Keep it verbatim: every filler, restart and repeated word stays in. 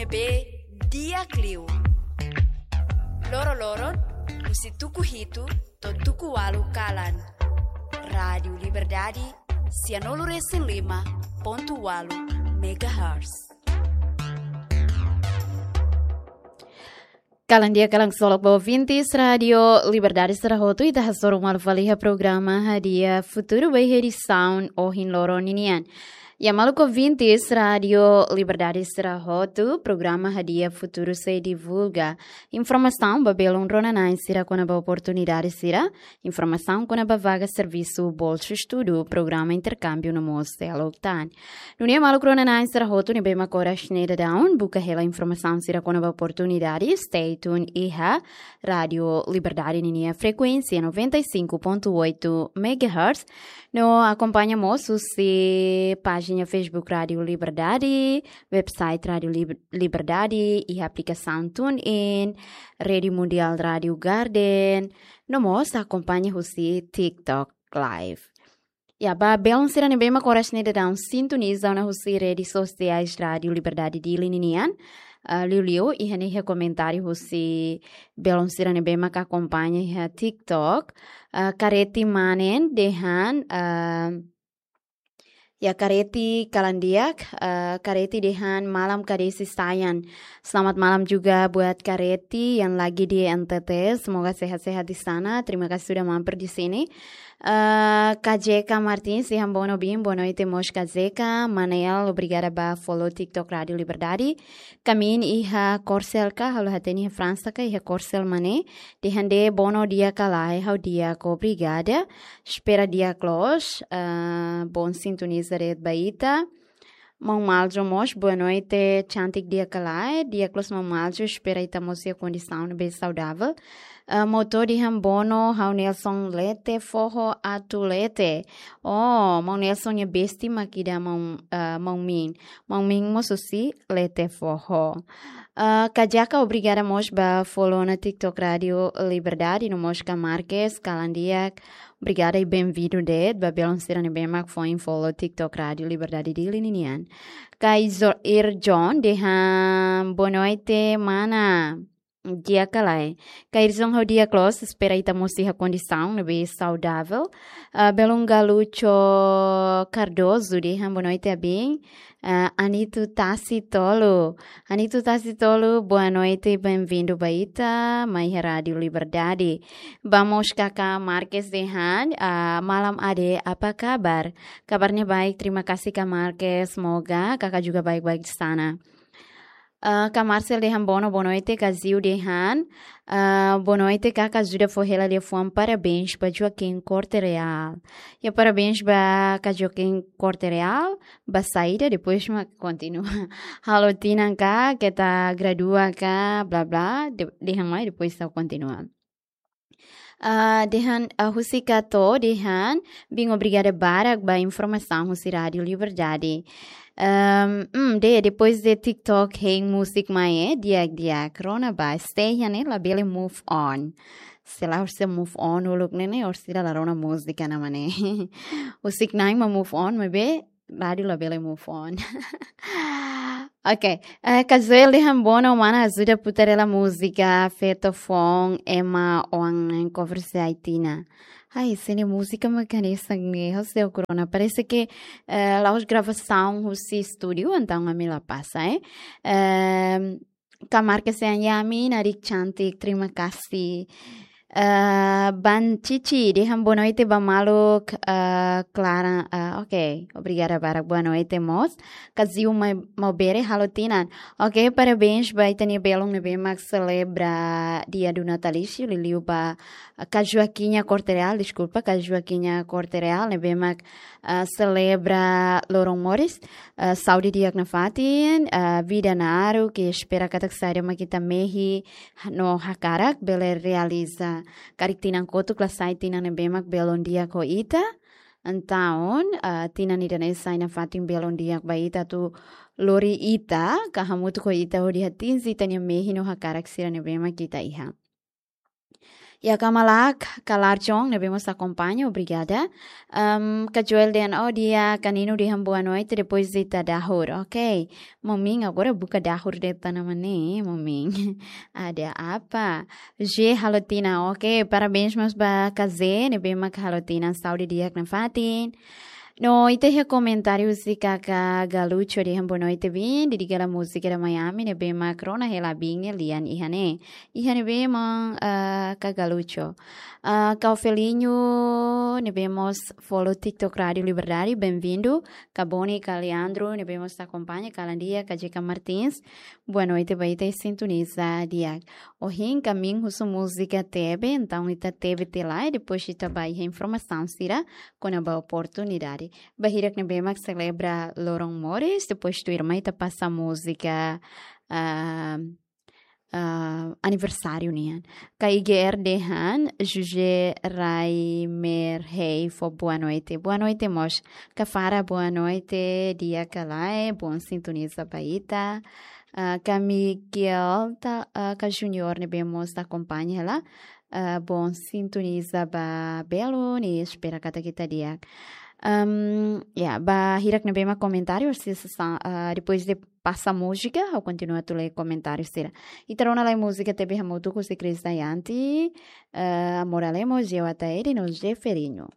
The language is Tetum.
ne'ebé di'ak liu. Loro-loron, husi tuku hitu to'o tuku ualu kalan. Rádiu Liberdade, sianulu resin lima pontu ualu megahertz. Kalan di'ak, kalan solok ba ouvintes Rádiu Liberdade sira hotu, ita hasoru malu fali iha programa Hadi'a Futuru ba iha edisaun ohin loron ninian. Ya, maluk ouvintes Rádiu Liberdade sira hotu, programa Hadi'a Futuru sei divulga informasaun ba belun rona-na'in sira kona-ba oportunidade sira, informasaun kona-ba vaga servisu, bolsu estudu, programa interkámbiu no mós seluk tan. Nune'e maluk rona-na'in sira hotu ne'ebé mak oras ne'e daudaun buka hela informasaun sira kona-ba oportunidade, stay tuned iha Rádiu Liberdade ninia frekuénsia noventa e cinco ponto oito megahertz. No akompaña mós husi pájina Facebook Rádiu Liberdade, website Rádiu Lib-, Liberdade, iha aplikasaun TuneIn, Rede Mundial Rádiu Garden, no mós akompaña husi TikTok Live. Ya, ba belun sira ne'ebé mak oras ne'e daudaun sintoniza ona husi redes sosiais Rádiu Liberdade Dili ninian, ah, liuliu iha ne'e iha komentáriu husi belun sira ne'ebé mak akompaña iha TikTok, ah, Kareti Manen dehan, ah, ya, Kareti kalan di'ak, ah, Kareti dehan malam Kadesi Sayan. Selamat malam juga buat Kareti yang lagi di N T T. Semoga sehat-sehat di sana. Terima kasih sudah mampir di sini. Eh, K J K Martins dehan boa noite, boa noite mós K J K. Manel, obrigada ba follow TikTok Rádiu Liberdade. Kamin iha Korsel ka, halo hatene iha Fransa ka, iha Korsel mane. Dehan de'it bono di'ak ka lae, ha'u di'ak, obrigada. Espera di'ak loos, eh, bom sintoniza de'it ba ita. Maun Maljo mós, boa noite, cantik di'ak ka lae, di'ak loos Maun Maljo, espera ita mós iha kondisaun ne'ebé saudavel. Ah, Moto dehan bono, ha'u Nelson lete foho atu lete. Oh, Maun Nelson nia besti mak ida Maun, ah, Maun Min. Maun Min mós husi lete foho. Ah, K J K, obrigada mós ba follow ona TikTok Rádiu Liberdade, no mós Ka Marques, kalan di'ak. Obrigada i benvindu de'it ba belun sira ne'ebé mak foin follow TikTok Rádiu Liberdade Dili ninian. Ka Izo-, Ir John dehan boa noite, mana. Di'ak ka lae. Ka Ir John, ha'u di'ak loos, espera ita mós iha kondisaun ne'ebé saudavel. Ah, belun Galucho Cardoso dehan boa noite, abin. Ah, Anito Tasi Tolu. Anito Tasi Tolu, boa noite, benvindu ba ita, mai iha Rádiu Liberdade. Ba mós Kaka Marques dehan, ah, malam Ade, apa kabar? Kabarnya baik, terima kasih Kak Marques, semoga Kakak juga baik-baik di sana. Ah, Kak Marcel dehan bono, boa noite, Kak Ziu dehan, ah, boa noite, Kaka ajuda fó hela liafuan parabéns ba Joaquim Corte Real. Ya, parabéns ba Kak Joaquim Corte Real, ba saida, depois mak kontinua. Halo tinan ka, keta gradua ka, bla bla, de-, dehan mai, depois ita kontinua. Ah, dehan, ah, husi Kato, dehan, bin obrigada barak ba informasaun husi Rádiu Liberdade. Ehm, hmm, de, depois de TikTok, hein, música mai, eh, di'ak, di'ak, rona ba, stay iha ne'e, labele move on. Se lae orsida move on uluk ne'e ne'e, orsida la rona múzika ne'e mane. Husik na'in mak move on, maibé rádiu labele move on. Ok, eh, Kazuel dehan bono, mana ajuda putar hela múzika Feto Foun ema oan cover se ai tinan. Ai, ese-ne'e múzika mak hanesan ne'e, ha'u sei rona. Parese ke, eh, la'ós gravasaun husi estúdiu, entaun ami la pasa, eh. Ehm, Kak Marques dehan ya, ami narik cantik, terima kasih. Eh, Ban Cici dehan boa noite ba maluk, eh, Clara, eh, ok, obrigada barak, boa noite mós. Kak Ziu mai, Maubere, halo tinan. Ok, parabéns ba ita-nia belun ne'ebé mak selebra dia do natalício, liuliu ba, eh, Kak Joaquinha Corte Real, deskulpa, Kak Joaquinha Corte Real, ne'ebé mak, eh, selebra loron moris. Eh, saúde di'ak nafatin, eh, vida naruk, i espera katak saida mak ita mehi no hakarak bele realiza. Karik tinan kotuk la sai tinan ne'ebé mak belun di'ak ho ita. Entaun, eh, tinan ida-ne'e sai nafatin belun di'ak ba ita atu lori ita, ka hamutuk ho ita hodi atinje ita-nia mehi no hakarak sira ne'ebé mak ita iha. Ya, Kamalak, Kalarjong, ne'ebé mós akompaña, obrigada. Ahm, Ka Joel dehan, oh, di'ak, Ka Nino dehan boa noite, depois ita dahur. Ok. Maun Min agora buka dahur de'it ona, maun Min. Ada apa? J Halotina, ok. Parabéns mós ba Ka J, ne'ebé mak halo tinan saúde di'ak nafatin. No, ita iha komentáriu husi Kaka Galucho dehan boa noite, Bin. Didi gala múzika da Miami, ne'ebé mak rona hela Bin nia lian iha ne'e. Iha ne'ebé mak, ah, Kaka Galucho. Ah, Ka Ofelinho, ne'ebé mós follow TikTok Rádio Liberdade, bem-vindo. Ka Boni, Ka Leandro, ne'ebé mós akompaña, kalan di'ak, Ka Jeka Martins. Boa noite ba ita, sintoniza di'ak. Ohin, Ka Min husu múzika tebe, entaun ita tebe tiha lai, depois ita ba iha informasaun sira kona-ba oportunidade. Ba hirak ne'ebé mak selebra loron moris, depois tuirmai ita pasa múzika, ah, ah, aniversáriu nian. Ka I G R dehan, José Raimer Rei fó boa noite. Boa noite mós. Ka Fara, boa noite. Di'ak ka lae, bom sintoniza ba ita. Ah, Ka Miguel, ta, ah, Ka Junior ne'ebé mós akompaña hela. Ah, bom sintoniza ba belun, espera katak ita di'ak. Ahm, ya, ba hirak ne'ebé mak komentáriu, se, se, sa-, ah, depois de pasa múzika, ha'u kontinua atu lee komentáriu sira. Ita rona lai múzika tebe hamutuk husi Chris Dayanti, ah, Amor Alemo, Jewataeri no Jeferinho.